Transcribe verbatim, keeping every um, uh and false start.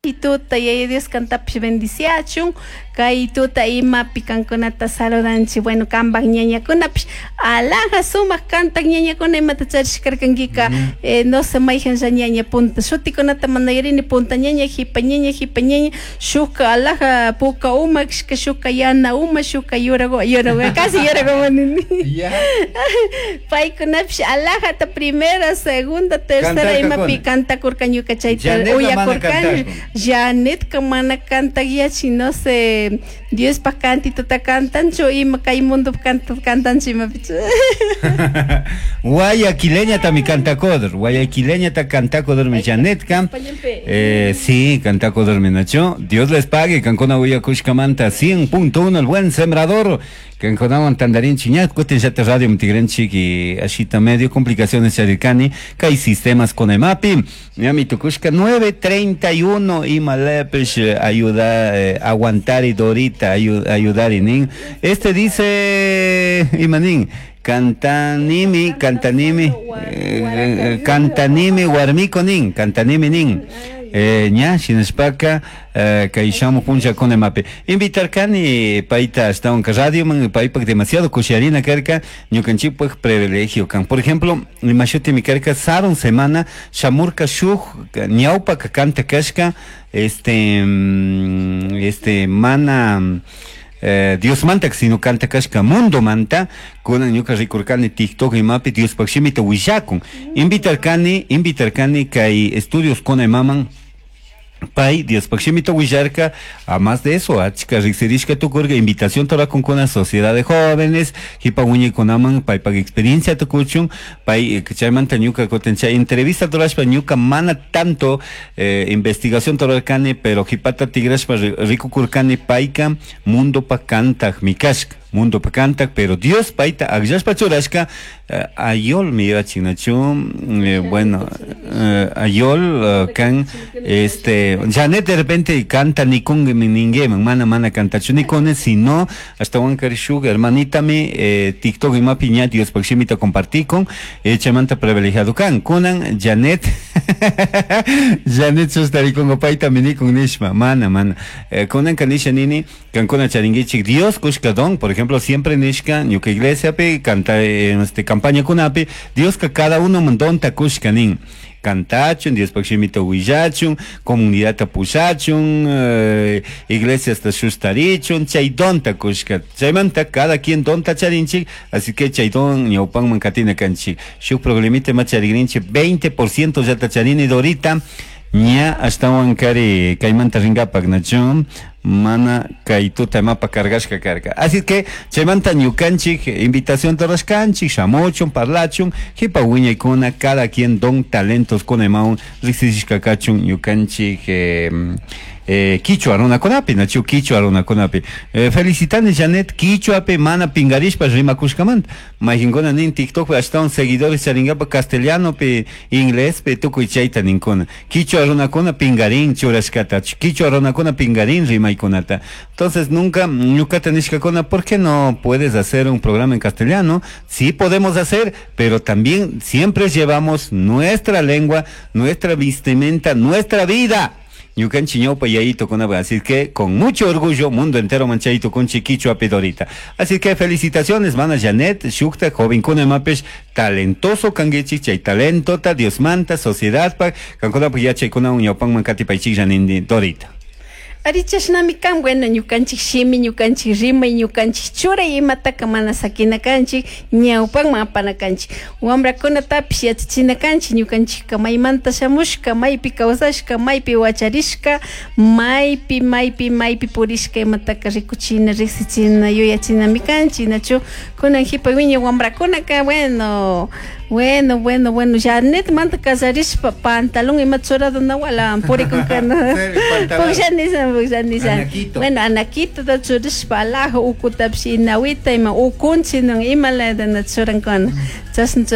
Tuta Yaya Dios kantapish bendiciachun kay tuta imapi kankunata saludanchik. Bueno, kanpak ñañakunapish alhaja sumak kantak ñañakuna imata charishkarkankika. eh, no sé mayjanlla ñaña punta shutikunata mana yuyarini, punta ñaña, jipa ñaña, jipa ñaña, shukka alhaja puka uma kashka, shukka yana uma, shukka yurago yurago, casi yurago nini. Paykunapish alhajata primera, segunda, tercera imapi kantakurka, ñuka chayta uyakurkani. Janetka mana kantak yachin, no sé, Diospak cantituta cantanchu ima kay mundo cantanchu imapichu. Guayaquileña tami cantakodor, guayaquileña ta cantakodor mi Janetka. Eh, sí, cantakodor mi nacho. Dios les pague, kankuna uyakushkamanta cien punto uno, El Buen Sembrador. Kankunawan tandarinchik ña kutin llata radio mtigrenchik y ashita medio complicaciones charirkani kay sistemas con emapi. Ñami tukushka nueve treinta y uno ima lepesh ayuda eh, aguantar y Dorita ayudar y nin. Este dice imanin cantanimi, cantanimi, eh, cantanimi warmiko nin, cantanimi nin. Eh, ña shinashpaka eh, kay shamuj punllakuna imapi invitarkani payta ashtawan radioman, paypak demasiado kushiarina karka, ñukanchikpak privilegio kan. Por ejemplo, ima shutimi karka, sarun semana shamurka shuk ñawpaka kanta kashka, este mm, este mana eh, Dios manta, sino kanta kashka mundo manta. Kunan ñuka rikurkani TikTok imapi Diospaj shimita willakun. Invitarkani, invitarkani kay estudios con imaman, pay Diospaj shimita willarka. A más de eso, achka riksirishka tukurka, invitación con una sociedad de jóvenes jipa wiñaykunaman paypak experiencia tukuchun. Pay chaymanta ñuka kutin chay entrevista rurashpa, ñuka mana tanto eh, investigación rurarkani, pero jipata tigrashpa rikukurkani payka mundopak kantak kashka, mundo kantak, pero Dios payta akllashpa churashka. eh, ayol mi yachinachu, eh, bueno, eh, ayol kan este Janet de repente canta nikun ningueman mana mana cantachu nikune, sino ashtawankari shuk hermanita mi eh, TikTok imapi ña Diospaj shimita compartikun, eh, chaymanta privilegiado kan. Kunan Janet Janet sustarikungo payta minikun nishpa, mana mana eh, kunanka nisha nini, kankuna charinkichik Dios kushka don. Por ejemplo, siempre nishka ñuka iglesia pi canta en este campaña kunapi, Dioska cada uno donta kushka nin, kantachun, Diospaj shimita willachun, comunidadta pushachun, eh, iglesiasta shustarichun, chay donta kushka. Chaymanta cada quien donta charinchik, así que chay don ñawpanman katina kanchik. Shuk problemita ma charigrinchik, veinte por ciento ya ta charini, Dorita, ña ashtawan kari kaymanta rinkapak nachu mana kay tuta mapa cargashka karka. Así que chaymanta ñukanchik invitación rurashkanchik, shamuchun, parlachun, jipa wiñaykuna cada quien don talentos con emaun riksishka kachun ñukanchik eh, eh, kichwa runakunapi, nachu kichwa runakunapi. Eh, felicitani Janet kichwapi mana pingarishpa rimakushkamanta. Mayqinkuna nin TikTokpi ashtawan seguidores charingapa castellanopi, inglespi, tukuy chayta ninkuna. Kichwa runakuna pingarin churashkata, kichwa runakuna pingarin rimaykunata. Entonces nunca ñukata nishkakuna, ¿por qué no puedes hacer un programa en castellano? Sí podemos hacer, pero también siempre llevamos nuestra lengua, nuestra vestimenta, nuestra vida. Ñukanchik ñawpa yayito con así que con mucho orgullo mundo entero manchaito con chiquicho a Dorita. Así que felicitaciones, mana Janet, shukta jovenkuna imapish talentoso kanguichik, chay talentota Diosmanta sociedad pa kankuna yachaykuna ñawpanman katipaychik nindi Dorita. Ari, chashnami kan. Bueno, ñukanchik shimi, ñukanchik rimay, ñukanchik churay imataka mana sakina kanchik, ñawpanman apana kanchik. Wamrakunatapish yachachina kanchik ñukanchikka maymanta shamushka, maypi kawsashka, maypi wacharishka, maypi maypi maypi purishka imataka rikuchina, riksichina, yuyachinami kanchik, nachu? Kunan jipa wiñay wamrakunaka, bueno, bueno, bueno, bueno, Janet manta casarishpa pantalón ima churado nawala purikunkana. Pukllanisha, pukllanisha. Bueno, anaquito ta churashpa alhaja ukutapish inawita ima ukunchi ima layata churankuna. Chashna.